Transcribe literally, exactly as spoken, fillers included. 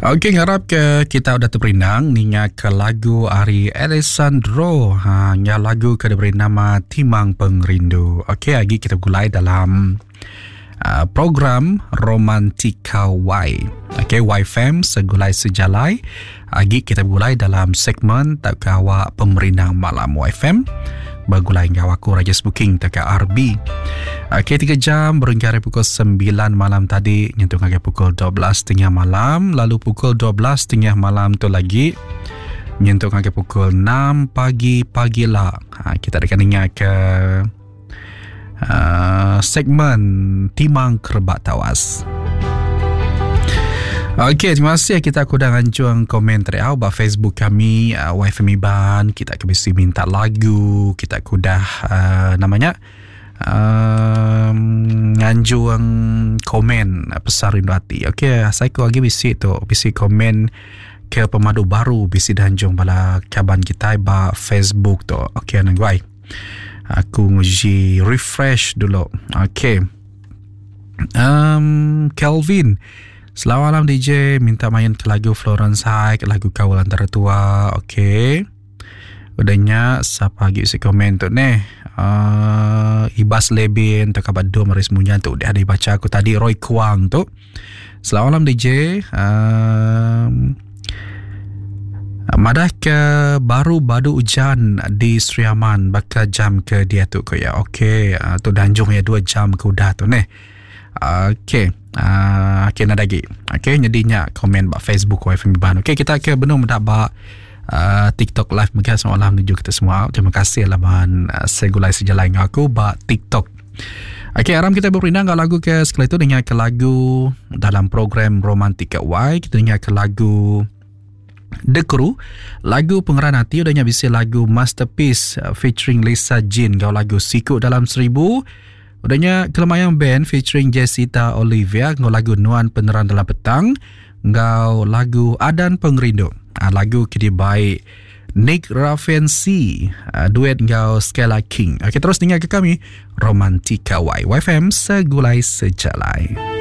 Okey, ngarap ke kita udah teperindang ninga ke lagu ari Alessandro. Ha, nya lagu ke diberi nama Timang Pengerindu. Okey, agi kita begulai dalam uh, program Romantika Y. Okey, Y F M segulai sejalai. Agi kita begulai dalam segmen tak awak pemerindang malam Y F M. Begulai enggau aku Rajesh Booking tak R B. Okey, tiga jam berengkah dari pukul sembilan malam tadi nyentuh ngagai pukul dua belas tiga puluh malam, lalu pukul dua belas tiga puluh malam tu lagi nyentuh ngagai pukul enam pagi pagi lah. Ha, kita akan dengar ke uh, segmen Timang Kerebak Tawas. Okey, terima kasih kita aku dah ngancung komen teriau ba Facebook kami uh, Y F M Iban. Kita akan mesti minta lagu, kita aku dah uh, namanya um, nganjung komen pesan rindu hati. Okey, saya ku lagi bisi tu, bisi komen ke pemadu baru bisi danjung bala kaban kita ba Facebook tu. Okey, nang guai. Aku nguji refresh dulu. Okey. Um, Kelvin, selamat malam D J, minta main ke lagu Florence High, ke lagu Kawal Antara Tua. Okey. Udahnya siapa lagi isi komen tu ni? Uh, Ibas Lebin, tu kabar dua maris munya tu dah dibaca aku tadi. Roy Kuang tu. Selamat malam D J. Um, madah ke baru badu hujan di Sri Aman bakal jam ke dia tu ke ya. Okey, uh, tu danjung ya dua jam ke udah tu ni. Okey. Uh, okey, nak lagi. Okey, jadinya komen bak Facebook Y F M Iban. Okey, kita ke benung mendak bak uh, TikTok live mega semalam menuju kita semua. Terima kasih lah bahan uh, segulai sejalai dengan aku bak TikTok. Okey, aram kita berperindang ke lagu ke sekali tu dengar ke lagu dalam program Romantika Y. Kita dengar ke lagu The Crew, lagu Pengeran Hati, udahnya bisa lagu Masterpiece uh, featuring Lisa Jean gau lagu Siku Dalam Seribu. Udahnya Kelemayang Band featuring Jessica Olivia ngau lagu Nuan Penerang Dalam Petang, ngau lagu Adan Pengerindu. Ha, lagu kini baik Nick Raffensi uh, duet ngau Skella King. Okey, terus dengar ke kami Romantika Y. Y F M segulai sejalai.